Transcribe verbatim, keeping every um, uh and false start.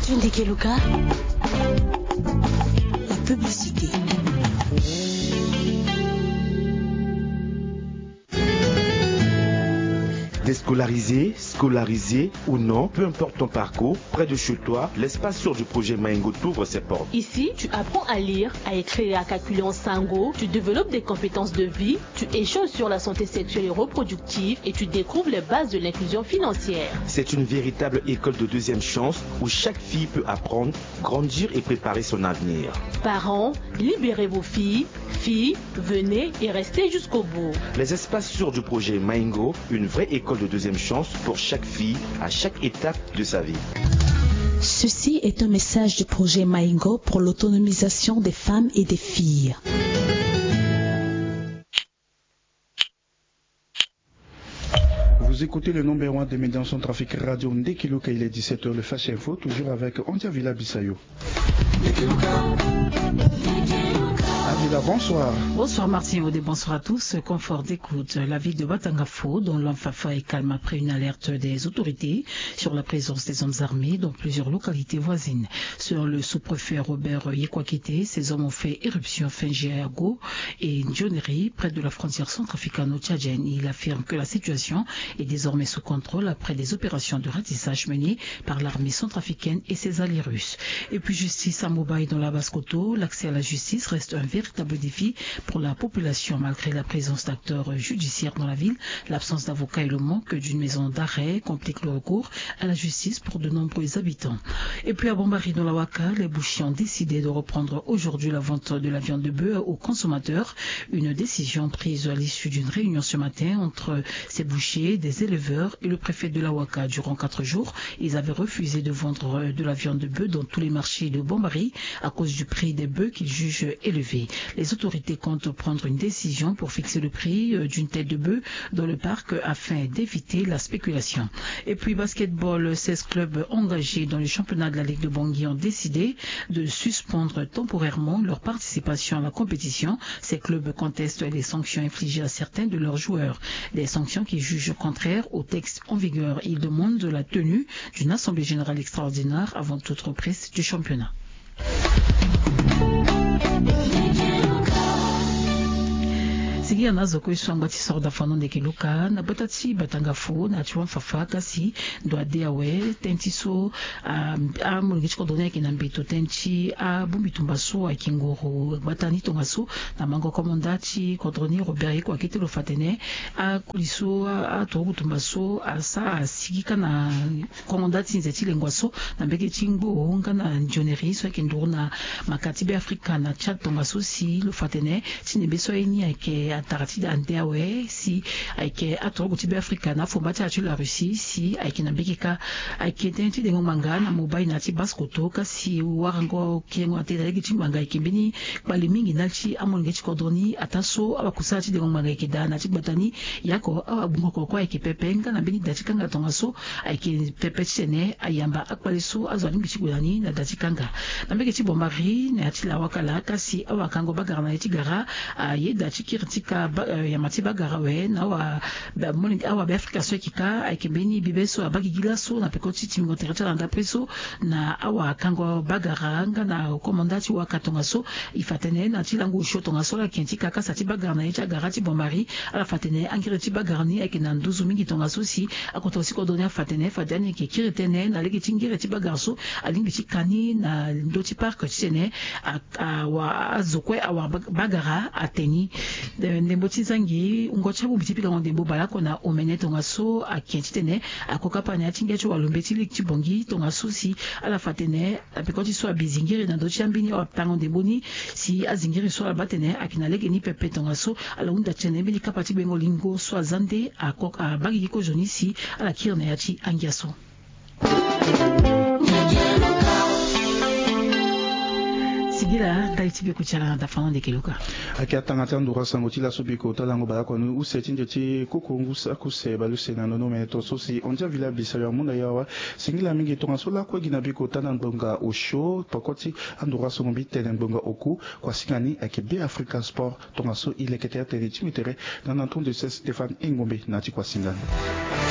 Tundikeluka, la publicité. Déscolarisé, scolarisé ou non, peu importe ton parcours, près de chez toi, l'espace sûr du projet Maingo t'ouvre ses portes. Ici, tu apprends à lire, à écrire et à calculer en sango, tu développes des compétences de vie, tu échanges sur la santé sexuelle et reproductive et tu découvres les bases de l'inclusion financière. C'est une véritable école de deuxième chance où chaque fille peut apprendre, grandir et préparer son avenir. Parents, libérez vos filles. Filles, venez et restez jusqu'au bout. Les espaces sûrs du projet Maingo, une vraie école de deuxième chance pour chaque fille à chaque étape de sa vie. Ceci est un message du projet Maingo pour l'autonomisation des femmes et des filles. Vous écoutez le numéro un des médias centrafricains, Radio Ndekeluka, il est dix-sept heures, le Flash Info, toujours avec Andia Villa Bissayo. Avila, bonsoir. Bonsoir Martin Odé, bonsoir à tous. Confort d'écoute. La ville de Batangafo, dont l'Anfafa, est calme après une alerte des autorités sur la présence des hommes armés dans plusieurs localités voisines. Selon le sous-préfet Robert Yekwakete, ces hommes ont fait éruption fin juillet à Go et Ndioneri, près de la frontière centrafricano-tchadienne. Il affirme que la situation est désormais sous contrôle après des opérations de ratissage menées par l'armée centrafricaine et ses alliés russes. Et puis justice à Mobay dans la Basse-Kotto, l'accès à la justice reste un véritable défi pour la population malgré la présence d'acteurs judiciaires dans la ville, l'absence d'avocats et le manque d'une maison d'arrêt compliquent le recours à la justice pour de nombreux habitants. Et puis à Bombari dans la Waka, les bouchers ont décidé de reprendre aujourd'hui la vente de la viande de bœuf aux consommateurs. Une décision prise à l'issue d'une réunion ce matin entre ces bouchers, des éleveurs et le préfet de la Waka. Durant quatre jours, ils avaient refusé de vendre de la viande de bœuf dans tous les marchés de Bombari à cause du prix des bœufs qu'ils jugent élevé. Les autorités comptent prendre une décision pour fixer le prix, euh, d'une tête de bœuf dans le parc afin d'éviter la spéculation. Et puis basketball, seize clubs engagés dans le championnat de la Ligue de Bangui ont décidé de suspendre temporairement leur participation à la compétition. Ces clubs contestent les sanctions infligées à certains de leurs joueurs, des sanctions qu'ils jugent contraires aux textes en vigueur. Ils demandent la tenue d'une assemblée générale extraordinaire avant toute reprise du championnat. Sigi ana zo kue so angba ti soro da fano ndeke luka na gbata ti Batangafo na ti Wanfafa kasi ndo ade awe tënë ti so, ah, amolenge ti kodro ni ayeke na mbeto tënë ti abongbi tumba so ayeke nguru gbata ni tongaso na mango komanda ti kodro ni Robert Yeko akete lo fa atene akoli so aturugu tumba so asa asigi ka na komanda ti nze ti lengua so na mbege ti ngbo nga na nzioneri so ayeke nduru na maka ti Beafrika na Tchad tongaso si lo fa atene ti nembe so aye ni ayeke atara ti da nde awe si ayeke aturugu ti Beafrika na afomba ti azo ti la Russie si ayeke na mbege ka. Ayeke tënë ti dengo ngbanga na Mobay na ya ti Basse-Kotto kasi warango kengo atene na lege ti ngbanga ayeke mbeni kpale mingi ndali ti amolenge ti kodro ni ataa so awakusala ti dengo ngbanga ayeke daa na ya ti gbata ni. Yako awagbungo koko ayeke pepe nga na mbeni da ti kanga tongaso ayeke pepe titene ayamba akpale so azo alingbi ti gue na ni na da ti kanga. Na mbege ti Bombari na ya ti lawa kala kasi awakango bagara na ye ti gara ayeda ti kiri ti ka ba, eh, yama ti bagara awe na awa ba, molenge awa Beafrika so ayeke ka ayeke mbeni bibe so abaa gigi laso na peko ti timbingo tere ti ala na ndapre so na awakango bagara nga na komanda ti waka tongaso. E fa atene na ti lango osio tongaso ala yeke ti ka kasa ti bagara na ye ti agara ti Bombari. Ala fa atene angere ti bagara ni ayeke na nduzu mingi tongaso si akotoro ti kodro ni afa atene fade ani yeke kiri tënë na lege ti ngere ti bagara so alingbi ti ka ni na ndö ti parc titene a, awa azo kue awara ba, bagara ate ni. Eh, ndembo ti zangi wungo ti abongbi ti pikango ndembo baleoko na omene tongaso ayeke titene akoka pa na ya ti ngia ti walombe ti lege ti Bangui tongaso si ala fa atene na peko ti so abi zingiri na ndö ti ambeni awapitango ndembo ni si azingiri so ala baa atene ayeke na lege ni pepe tongaso ala hunda titene mbeni kapa ti gbengo lingo so aza nde ako abaa gigi kozoni si ala kiri na ya ti angia so. Singila ndali ti beko ti ala na dafano ndeke luka. Ayeke atanga ti anduru asango ti laso beko ta lango baleoko na use ti nze ti koko ngu saki use baleuse na nono mene tongaso si Andia Villa Bisayo amu na yo awa. Singila mingi tongaso lakue gi na beko ta na ngbonga osio peko ti anduru asango mbi tene ngbonga oku. Kuasinga ni ayeke Beafrika Sport. Tongaso e leke tere ti mbi tere na na tonde se Stéphane Engombe na ya ti kuasinga ni.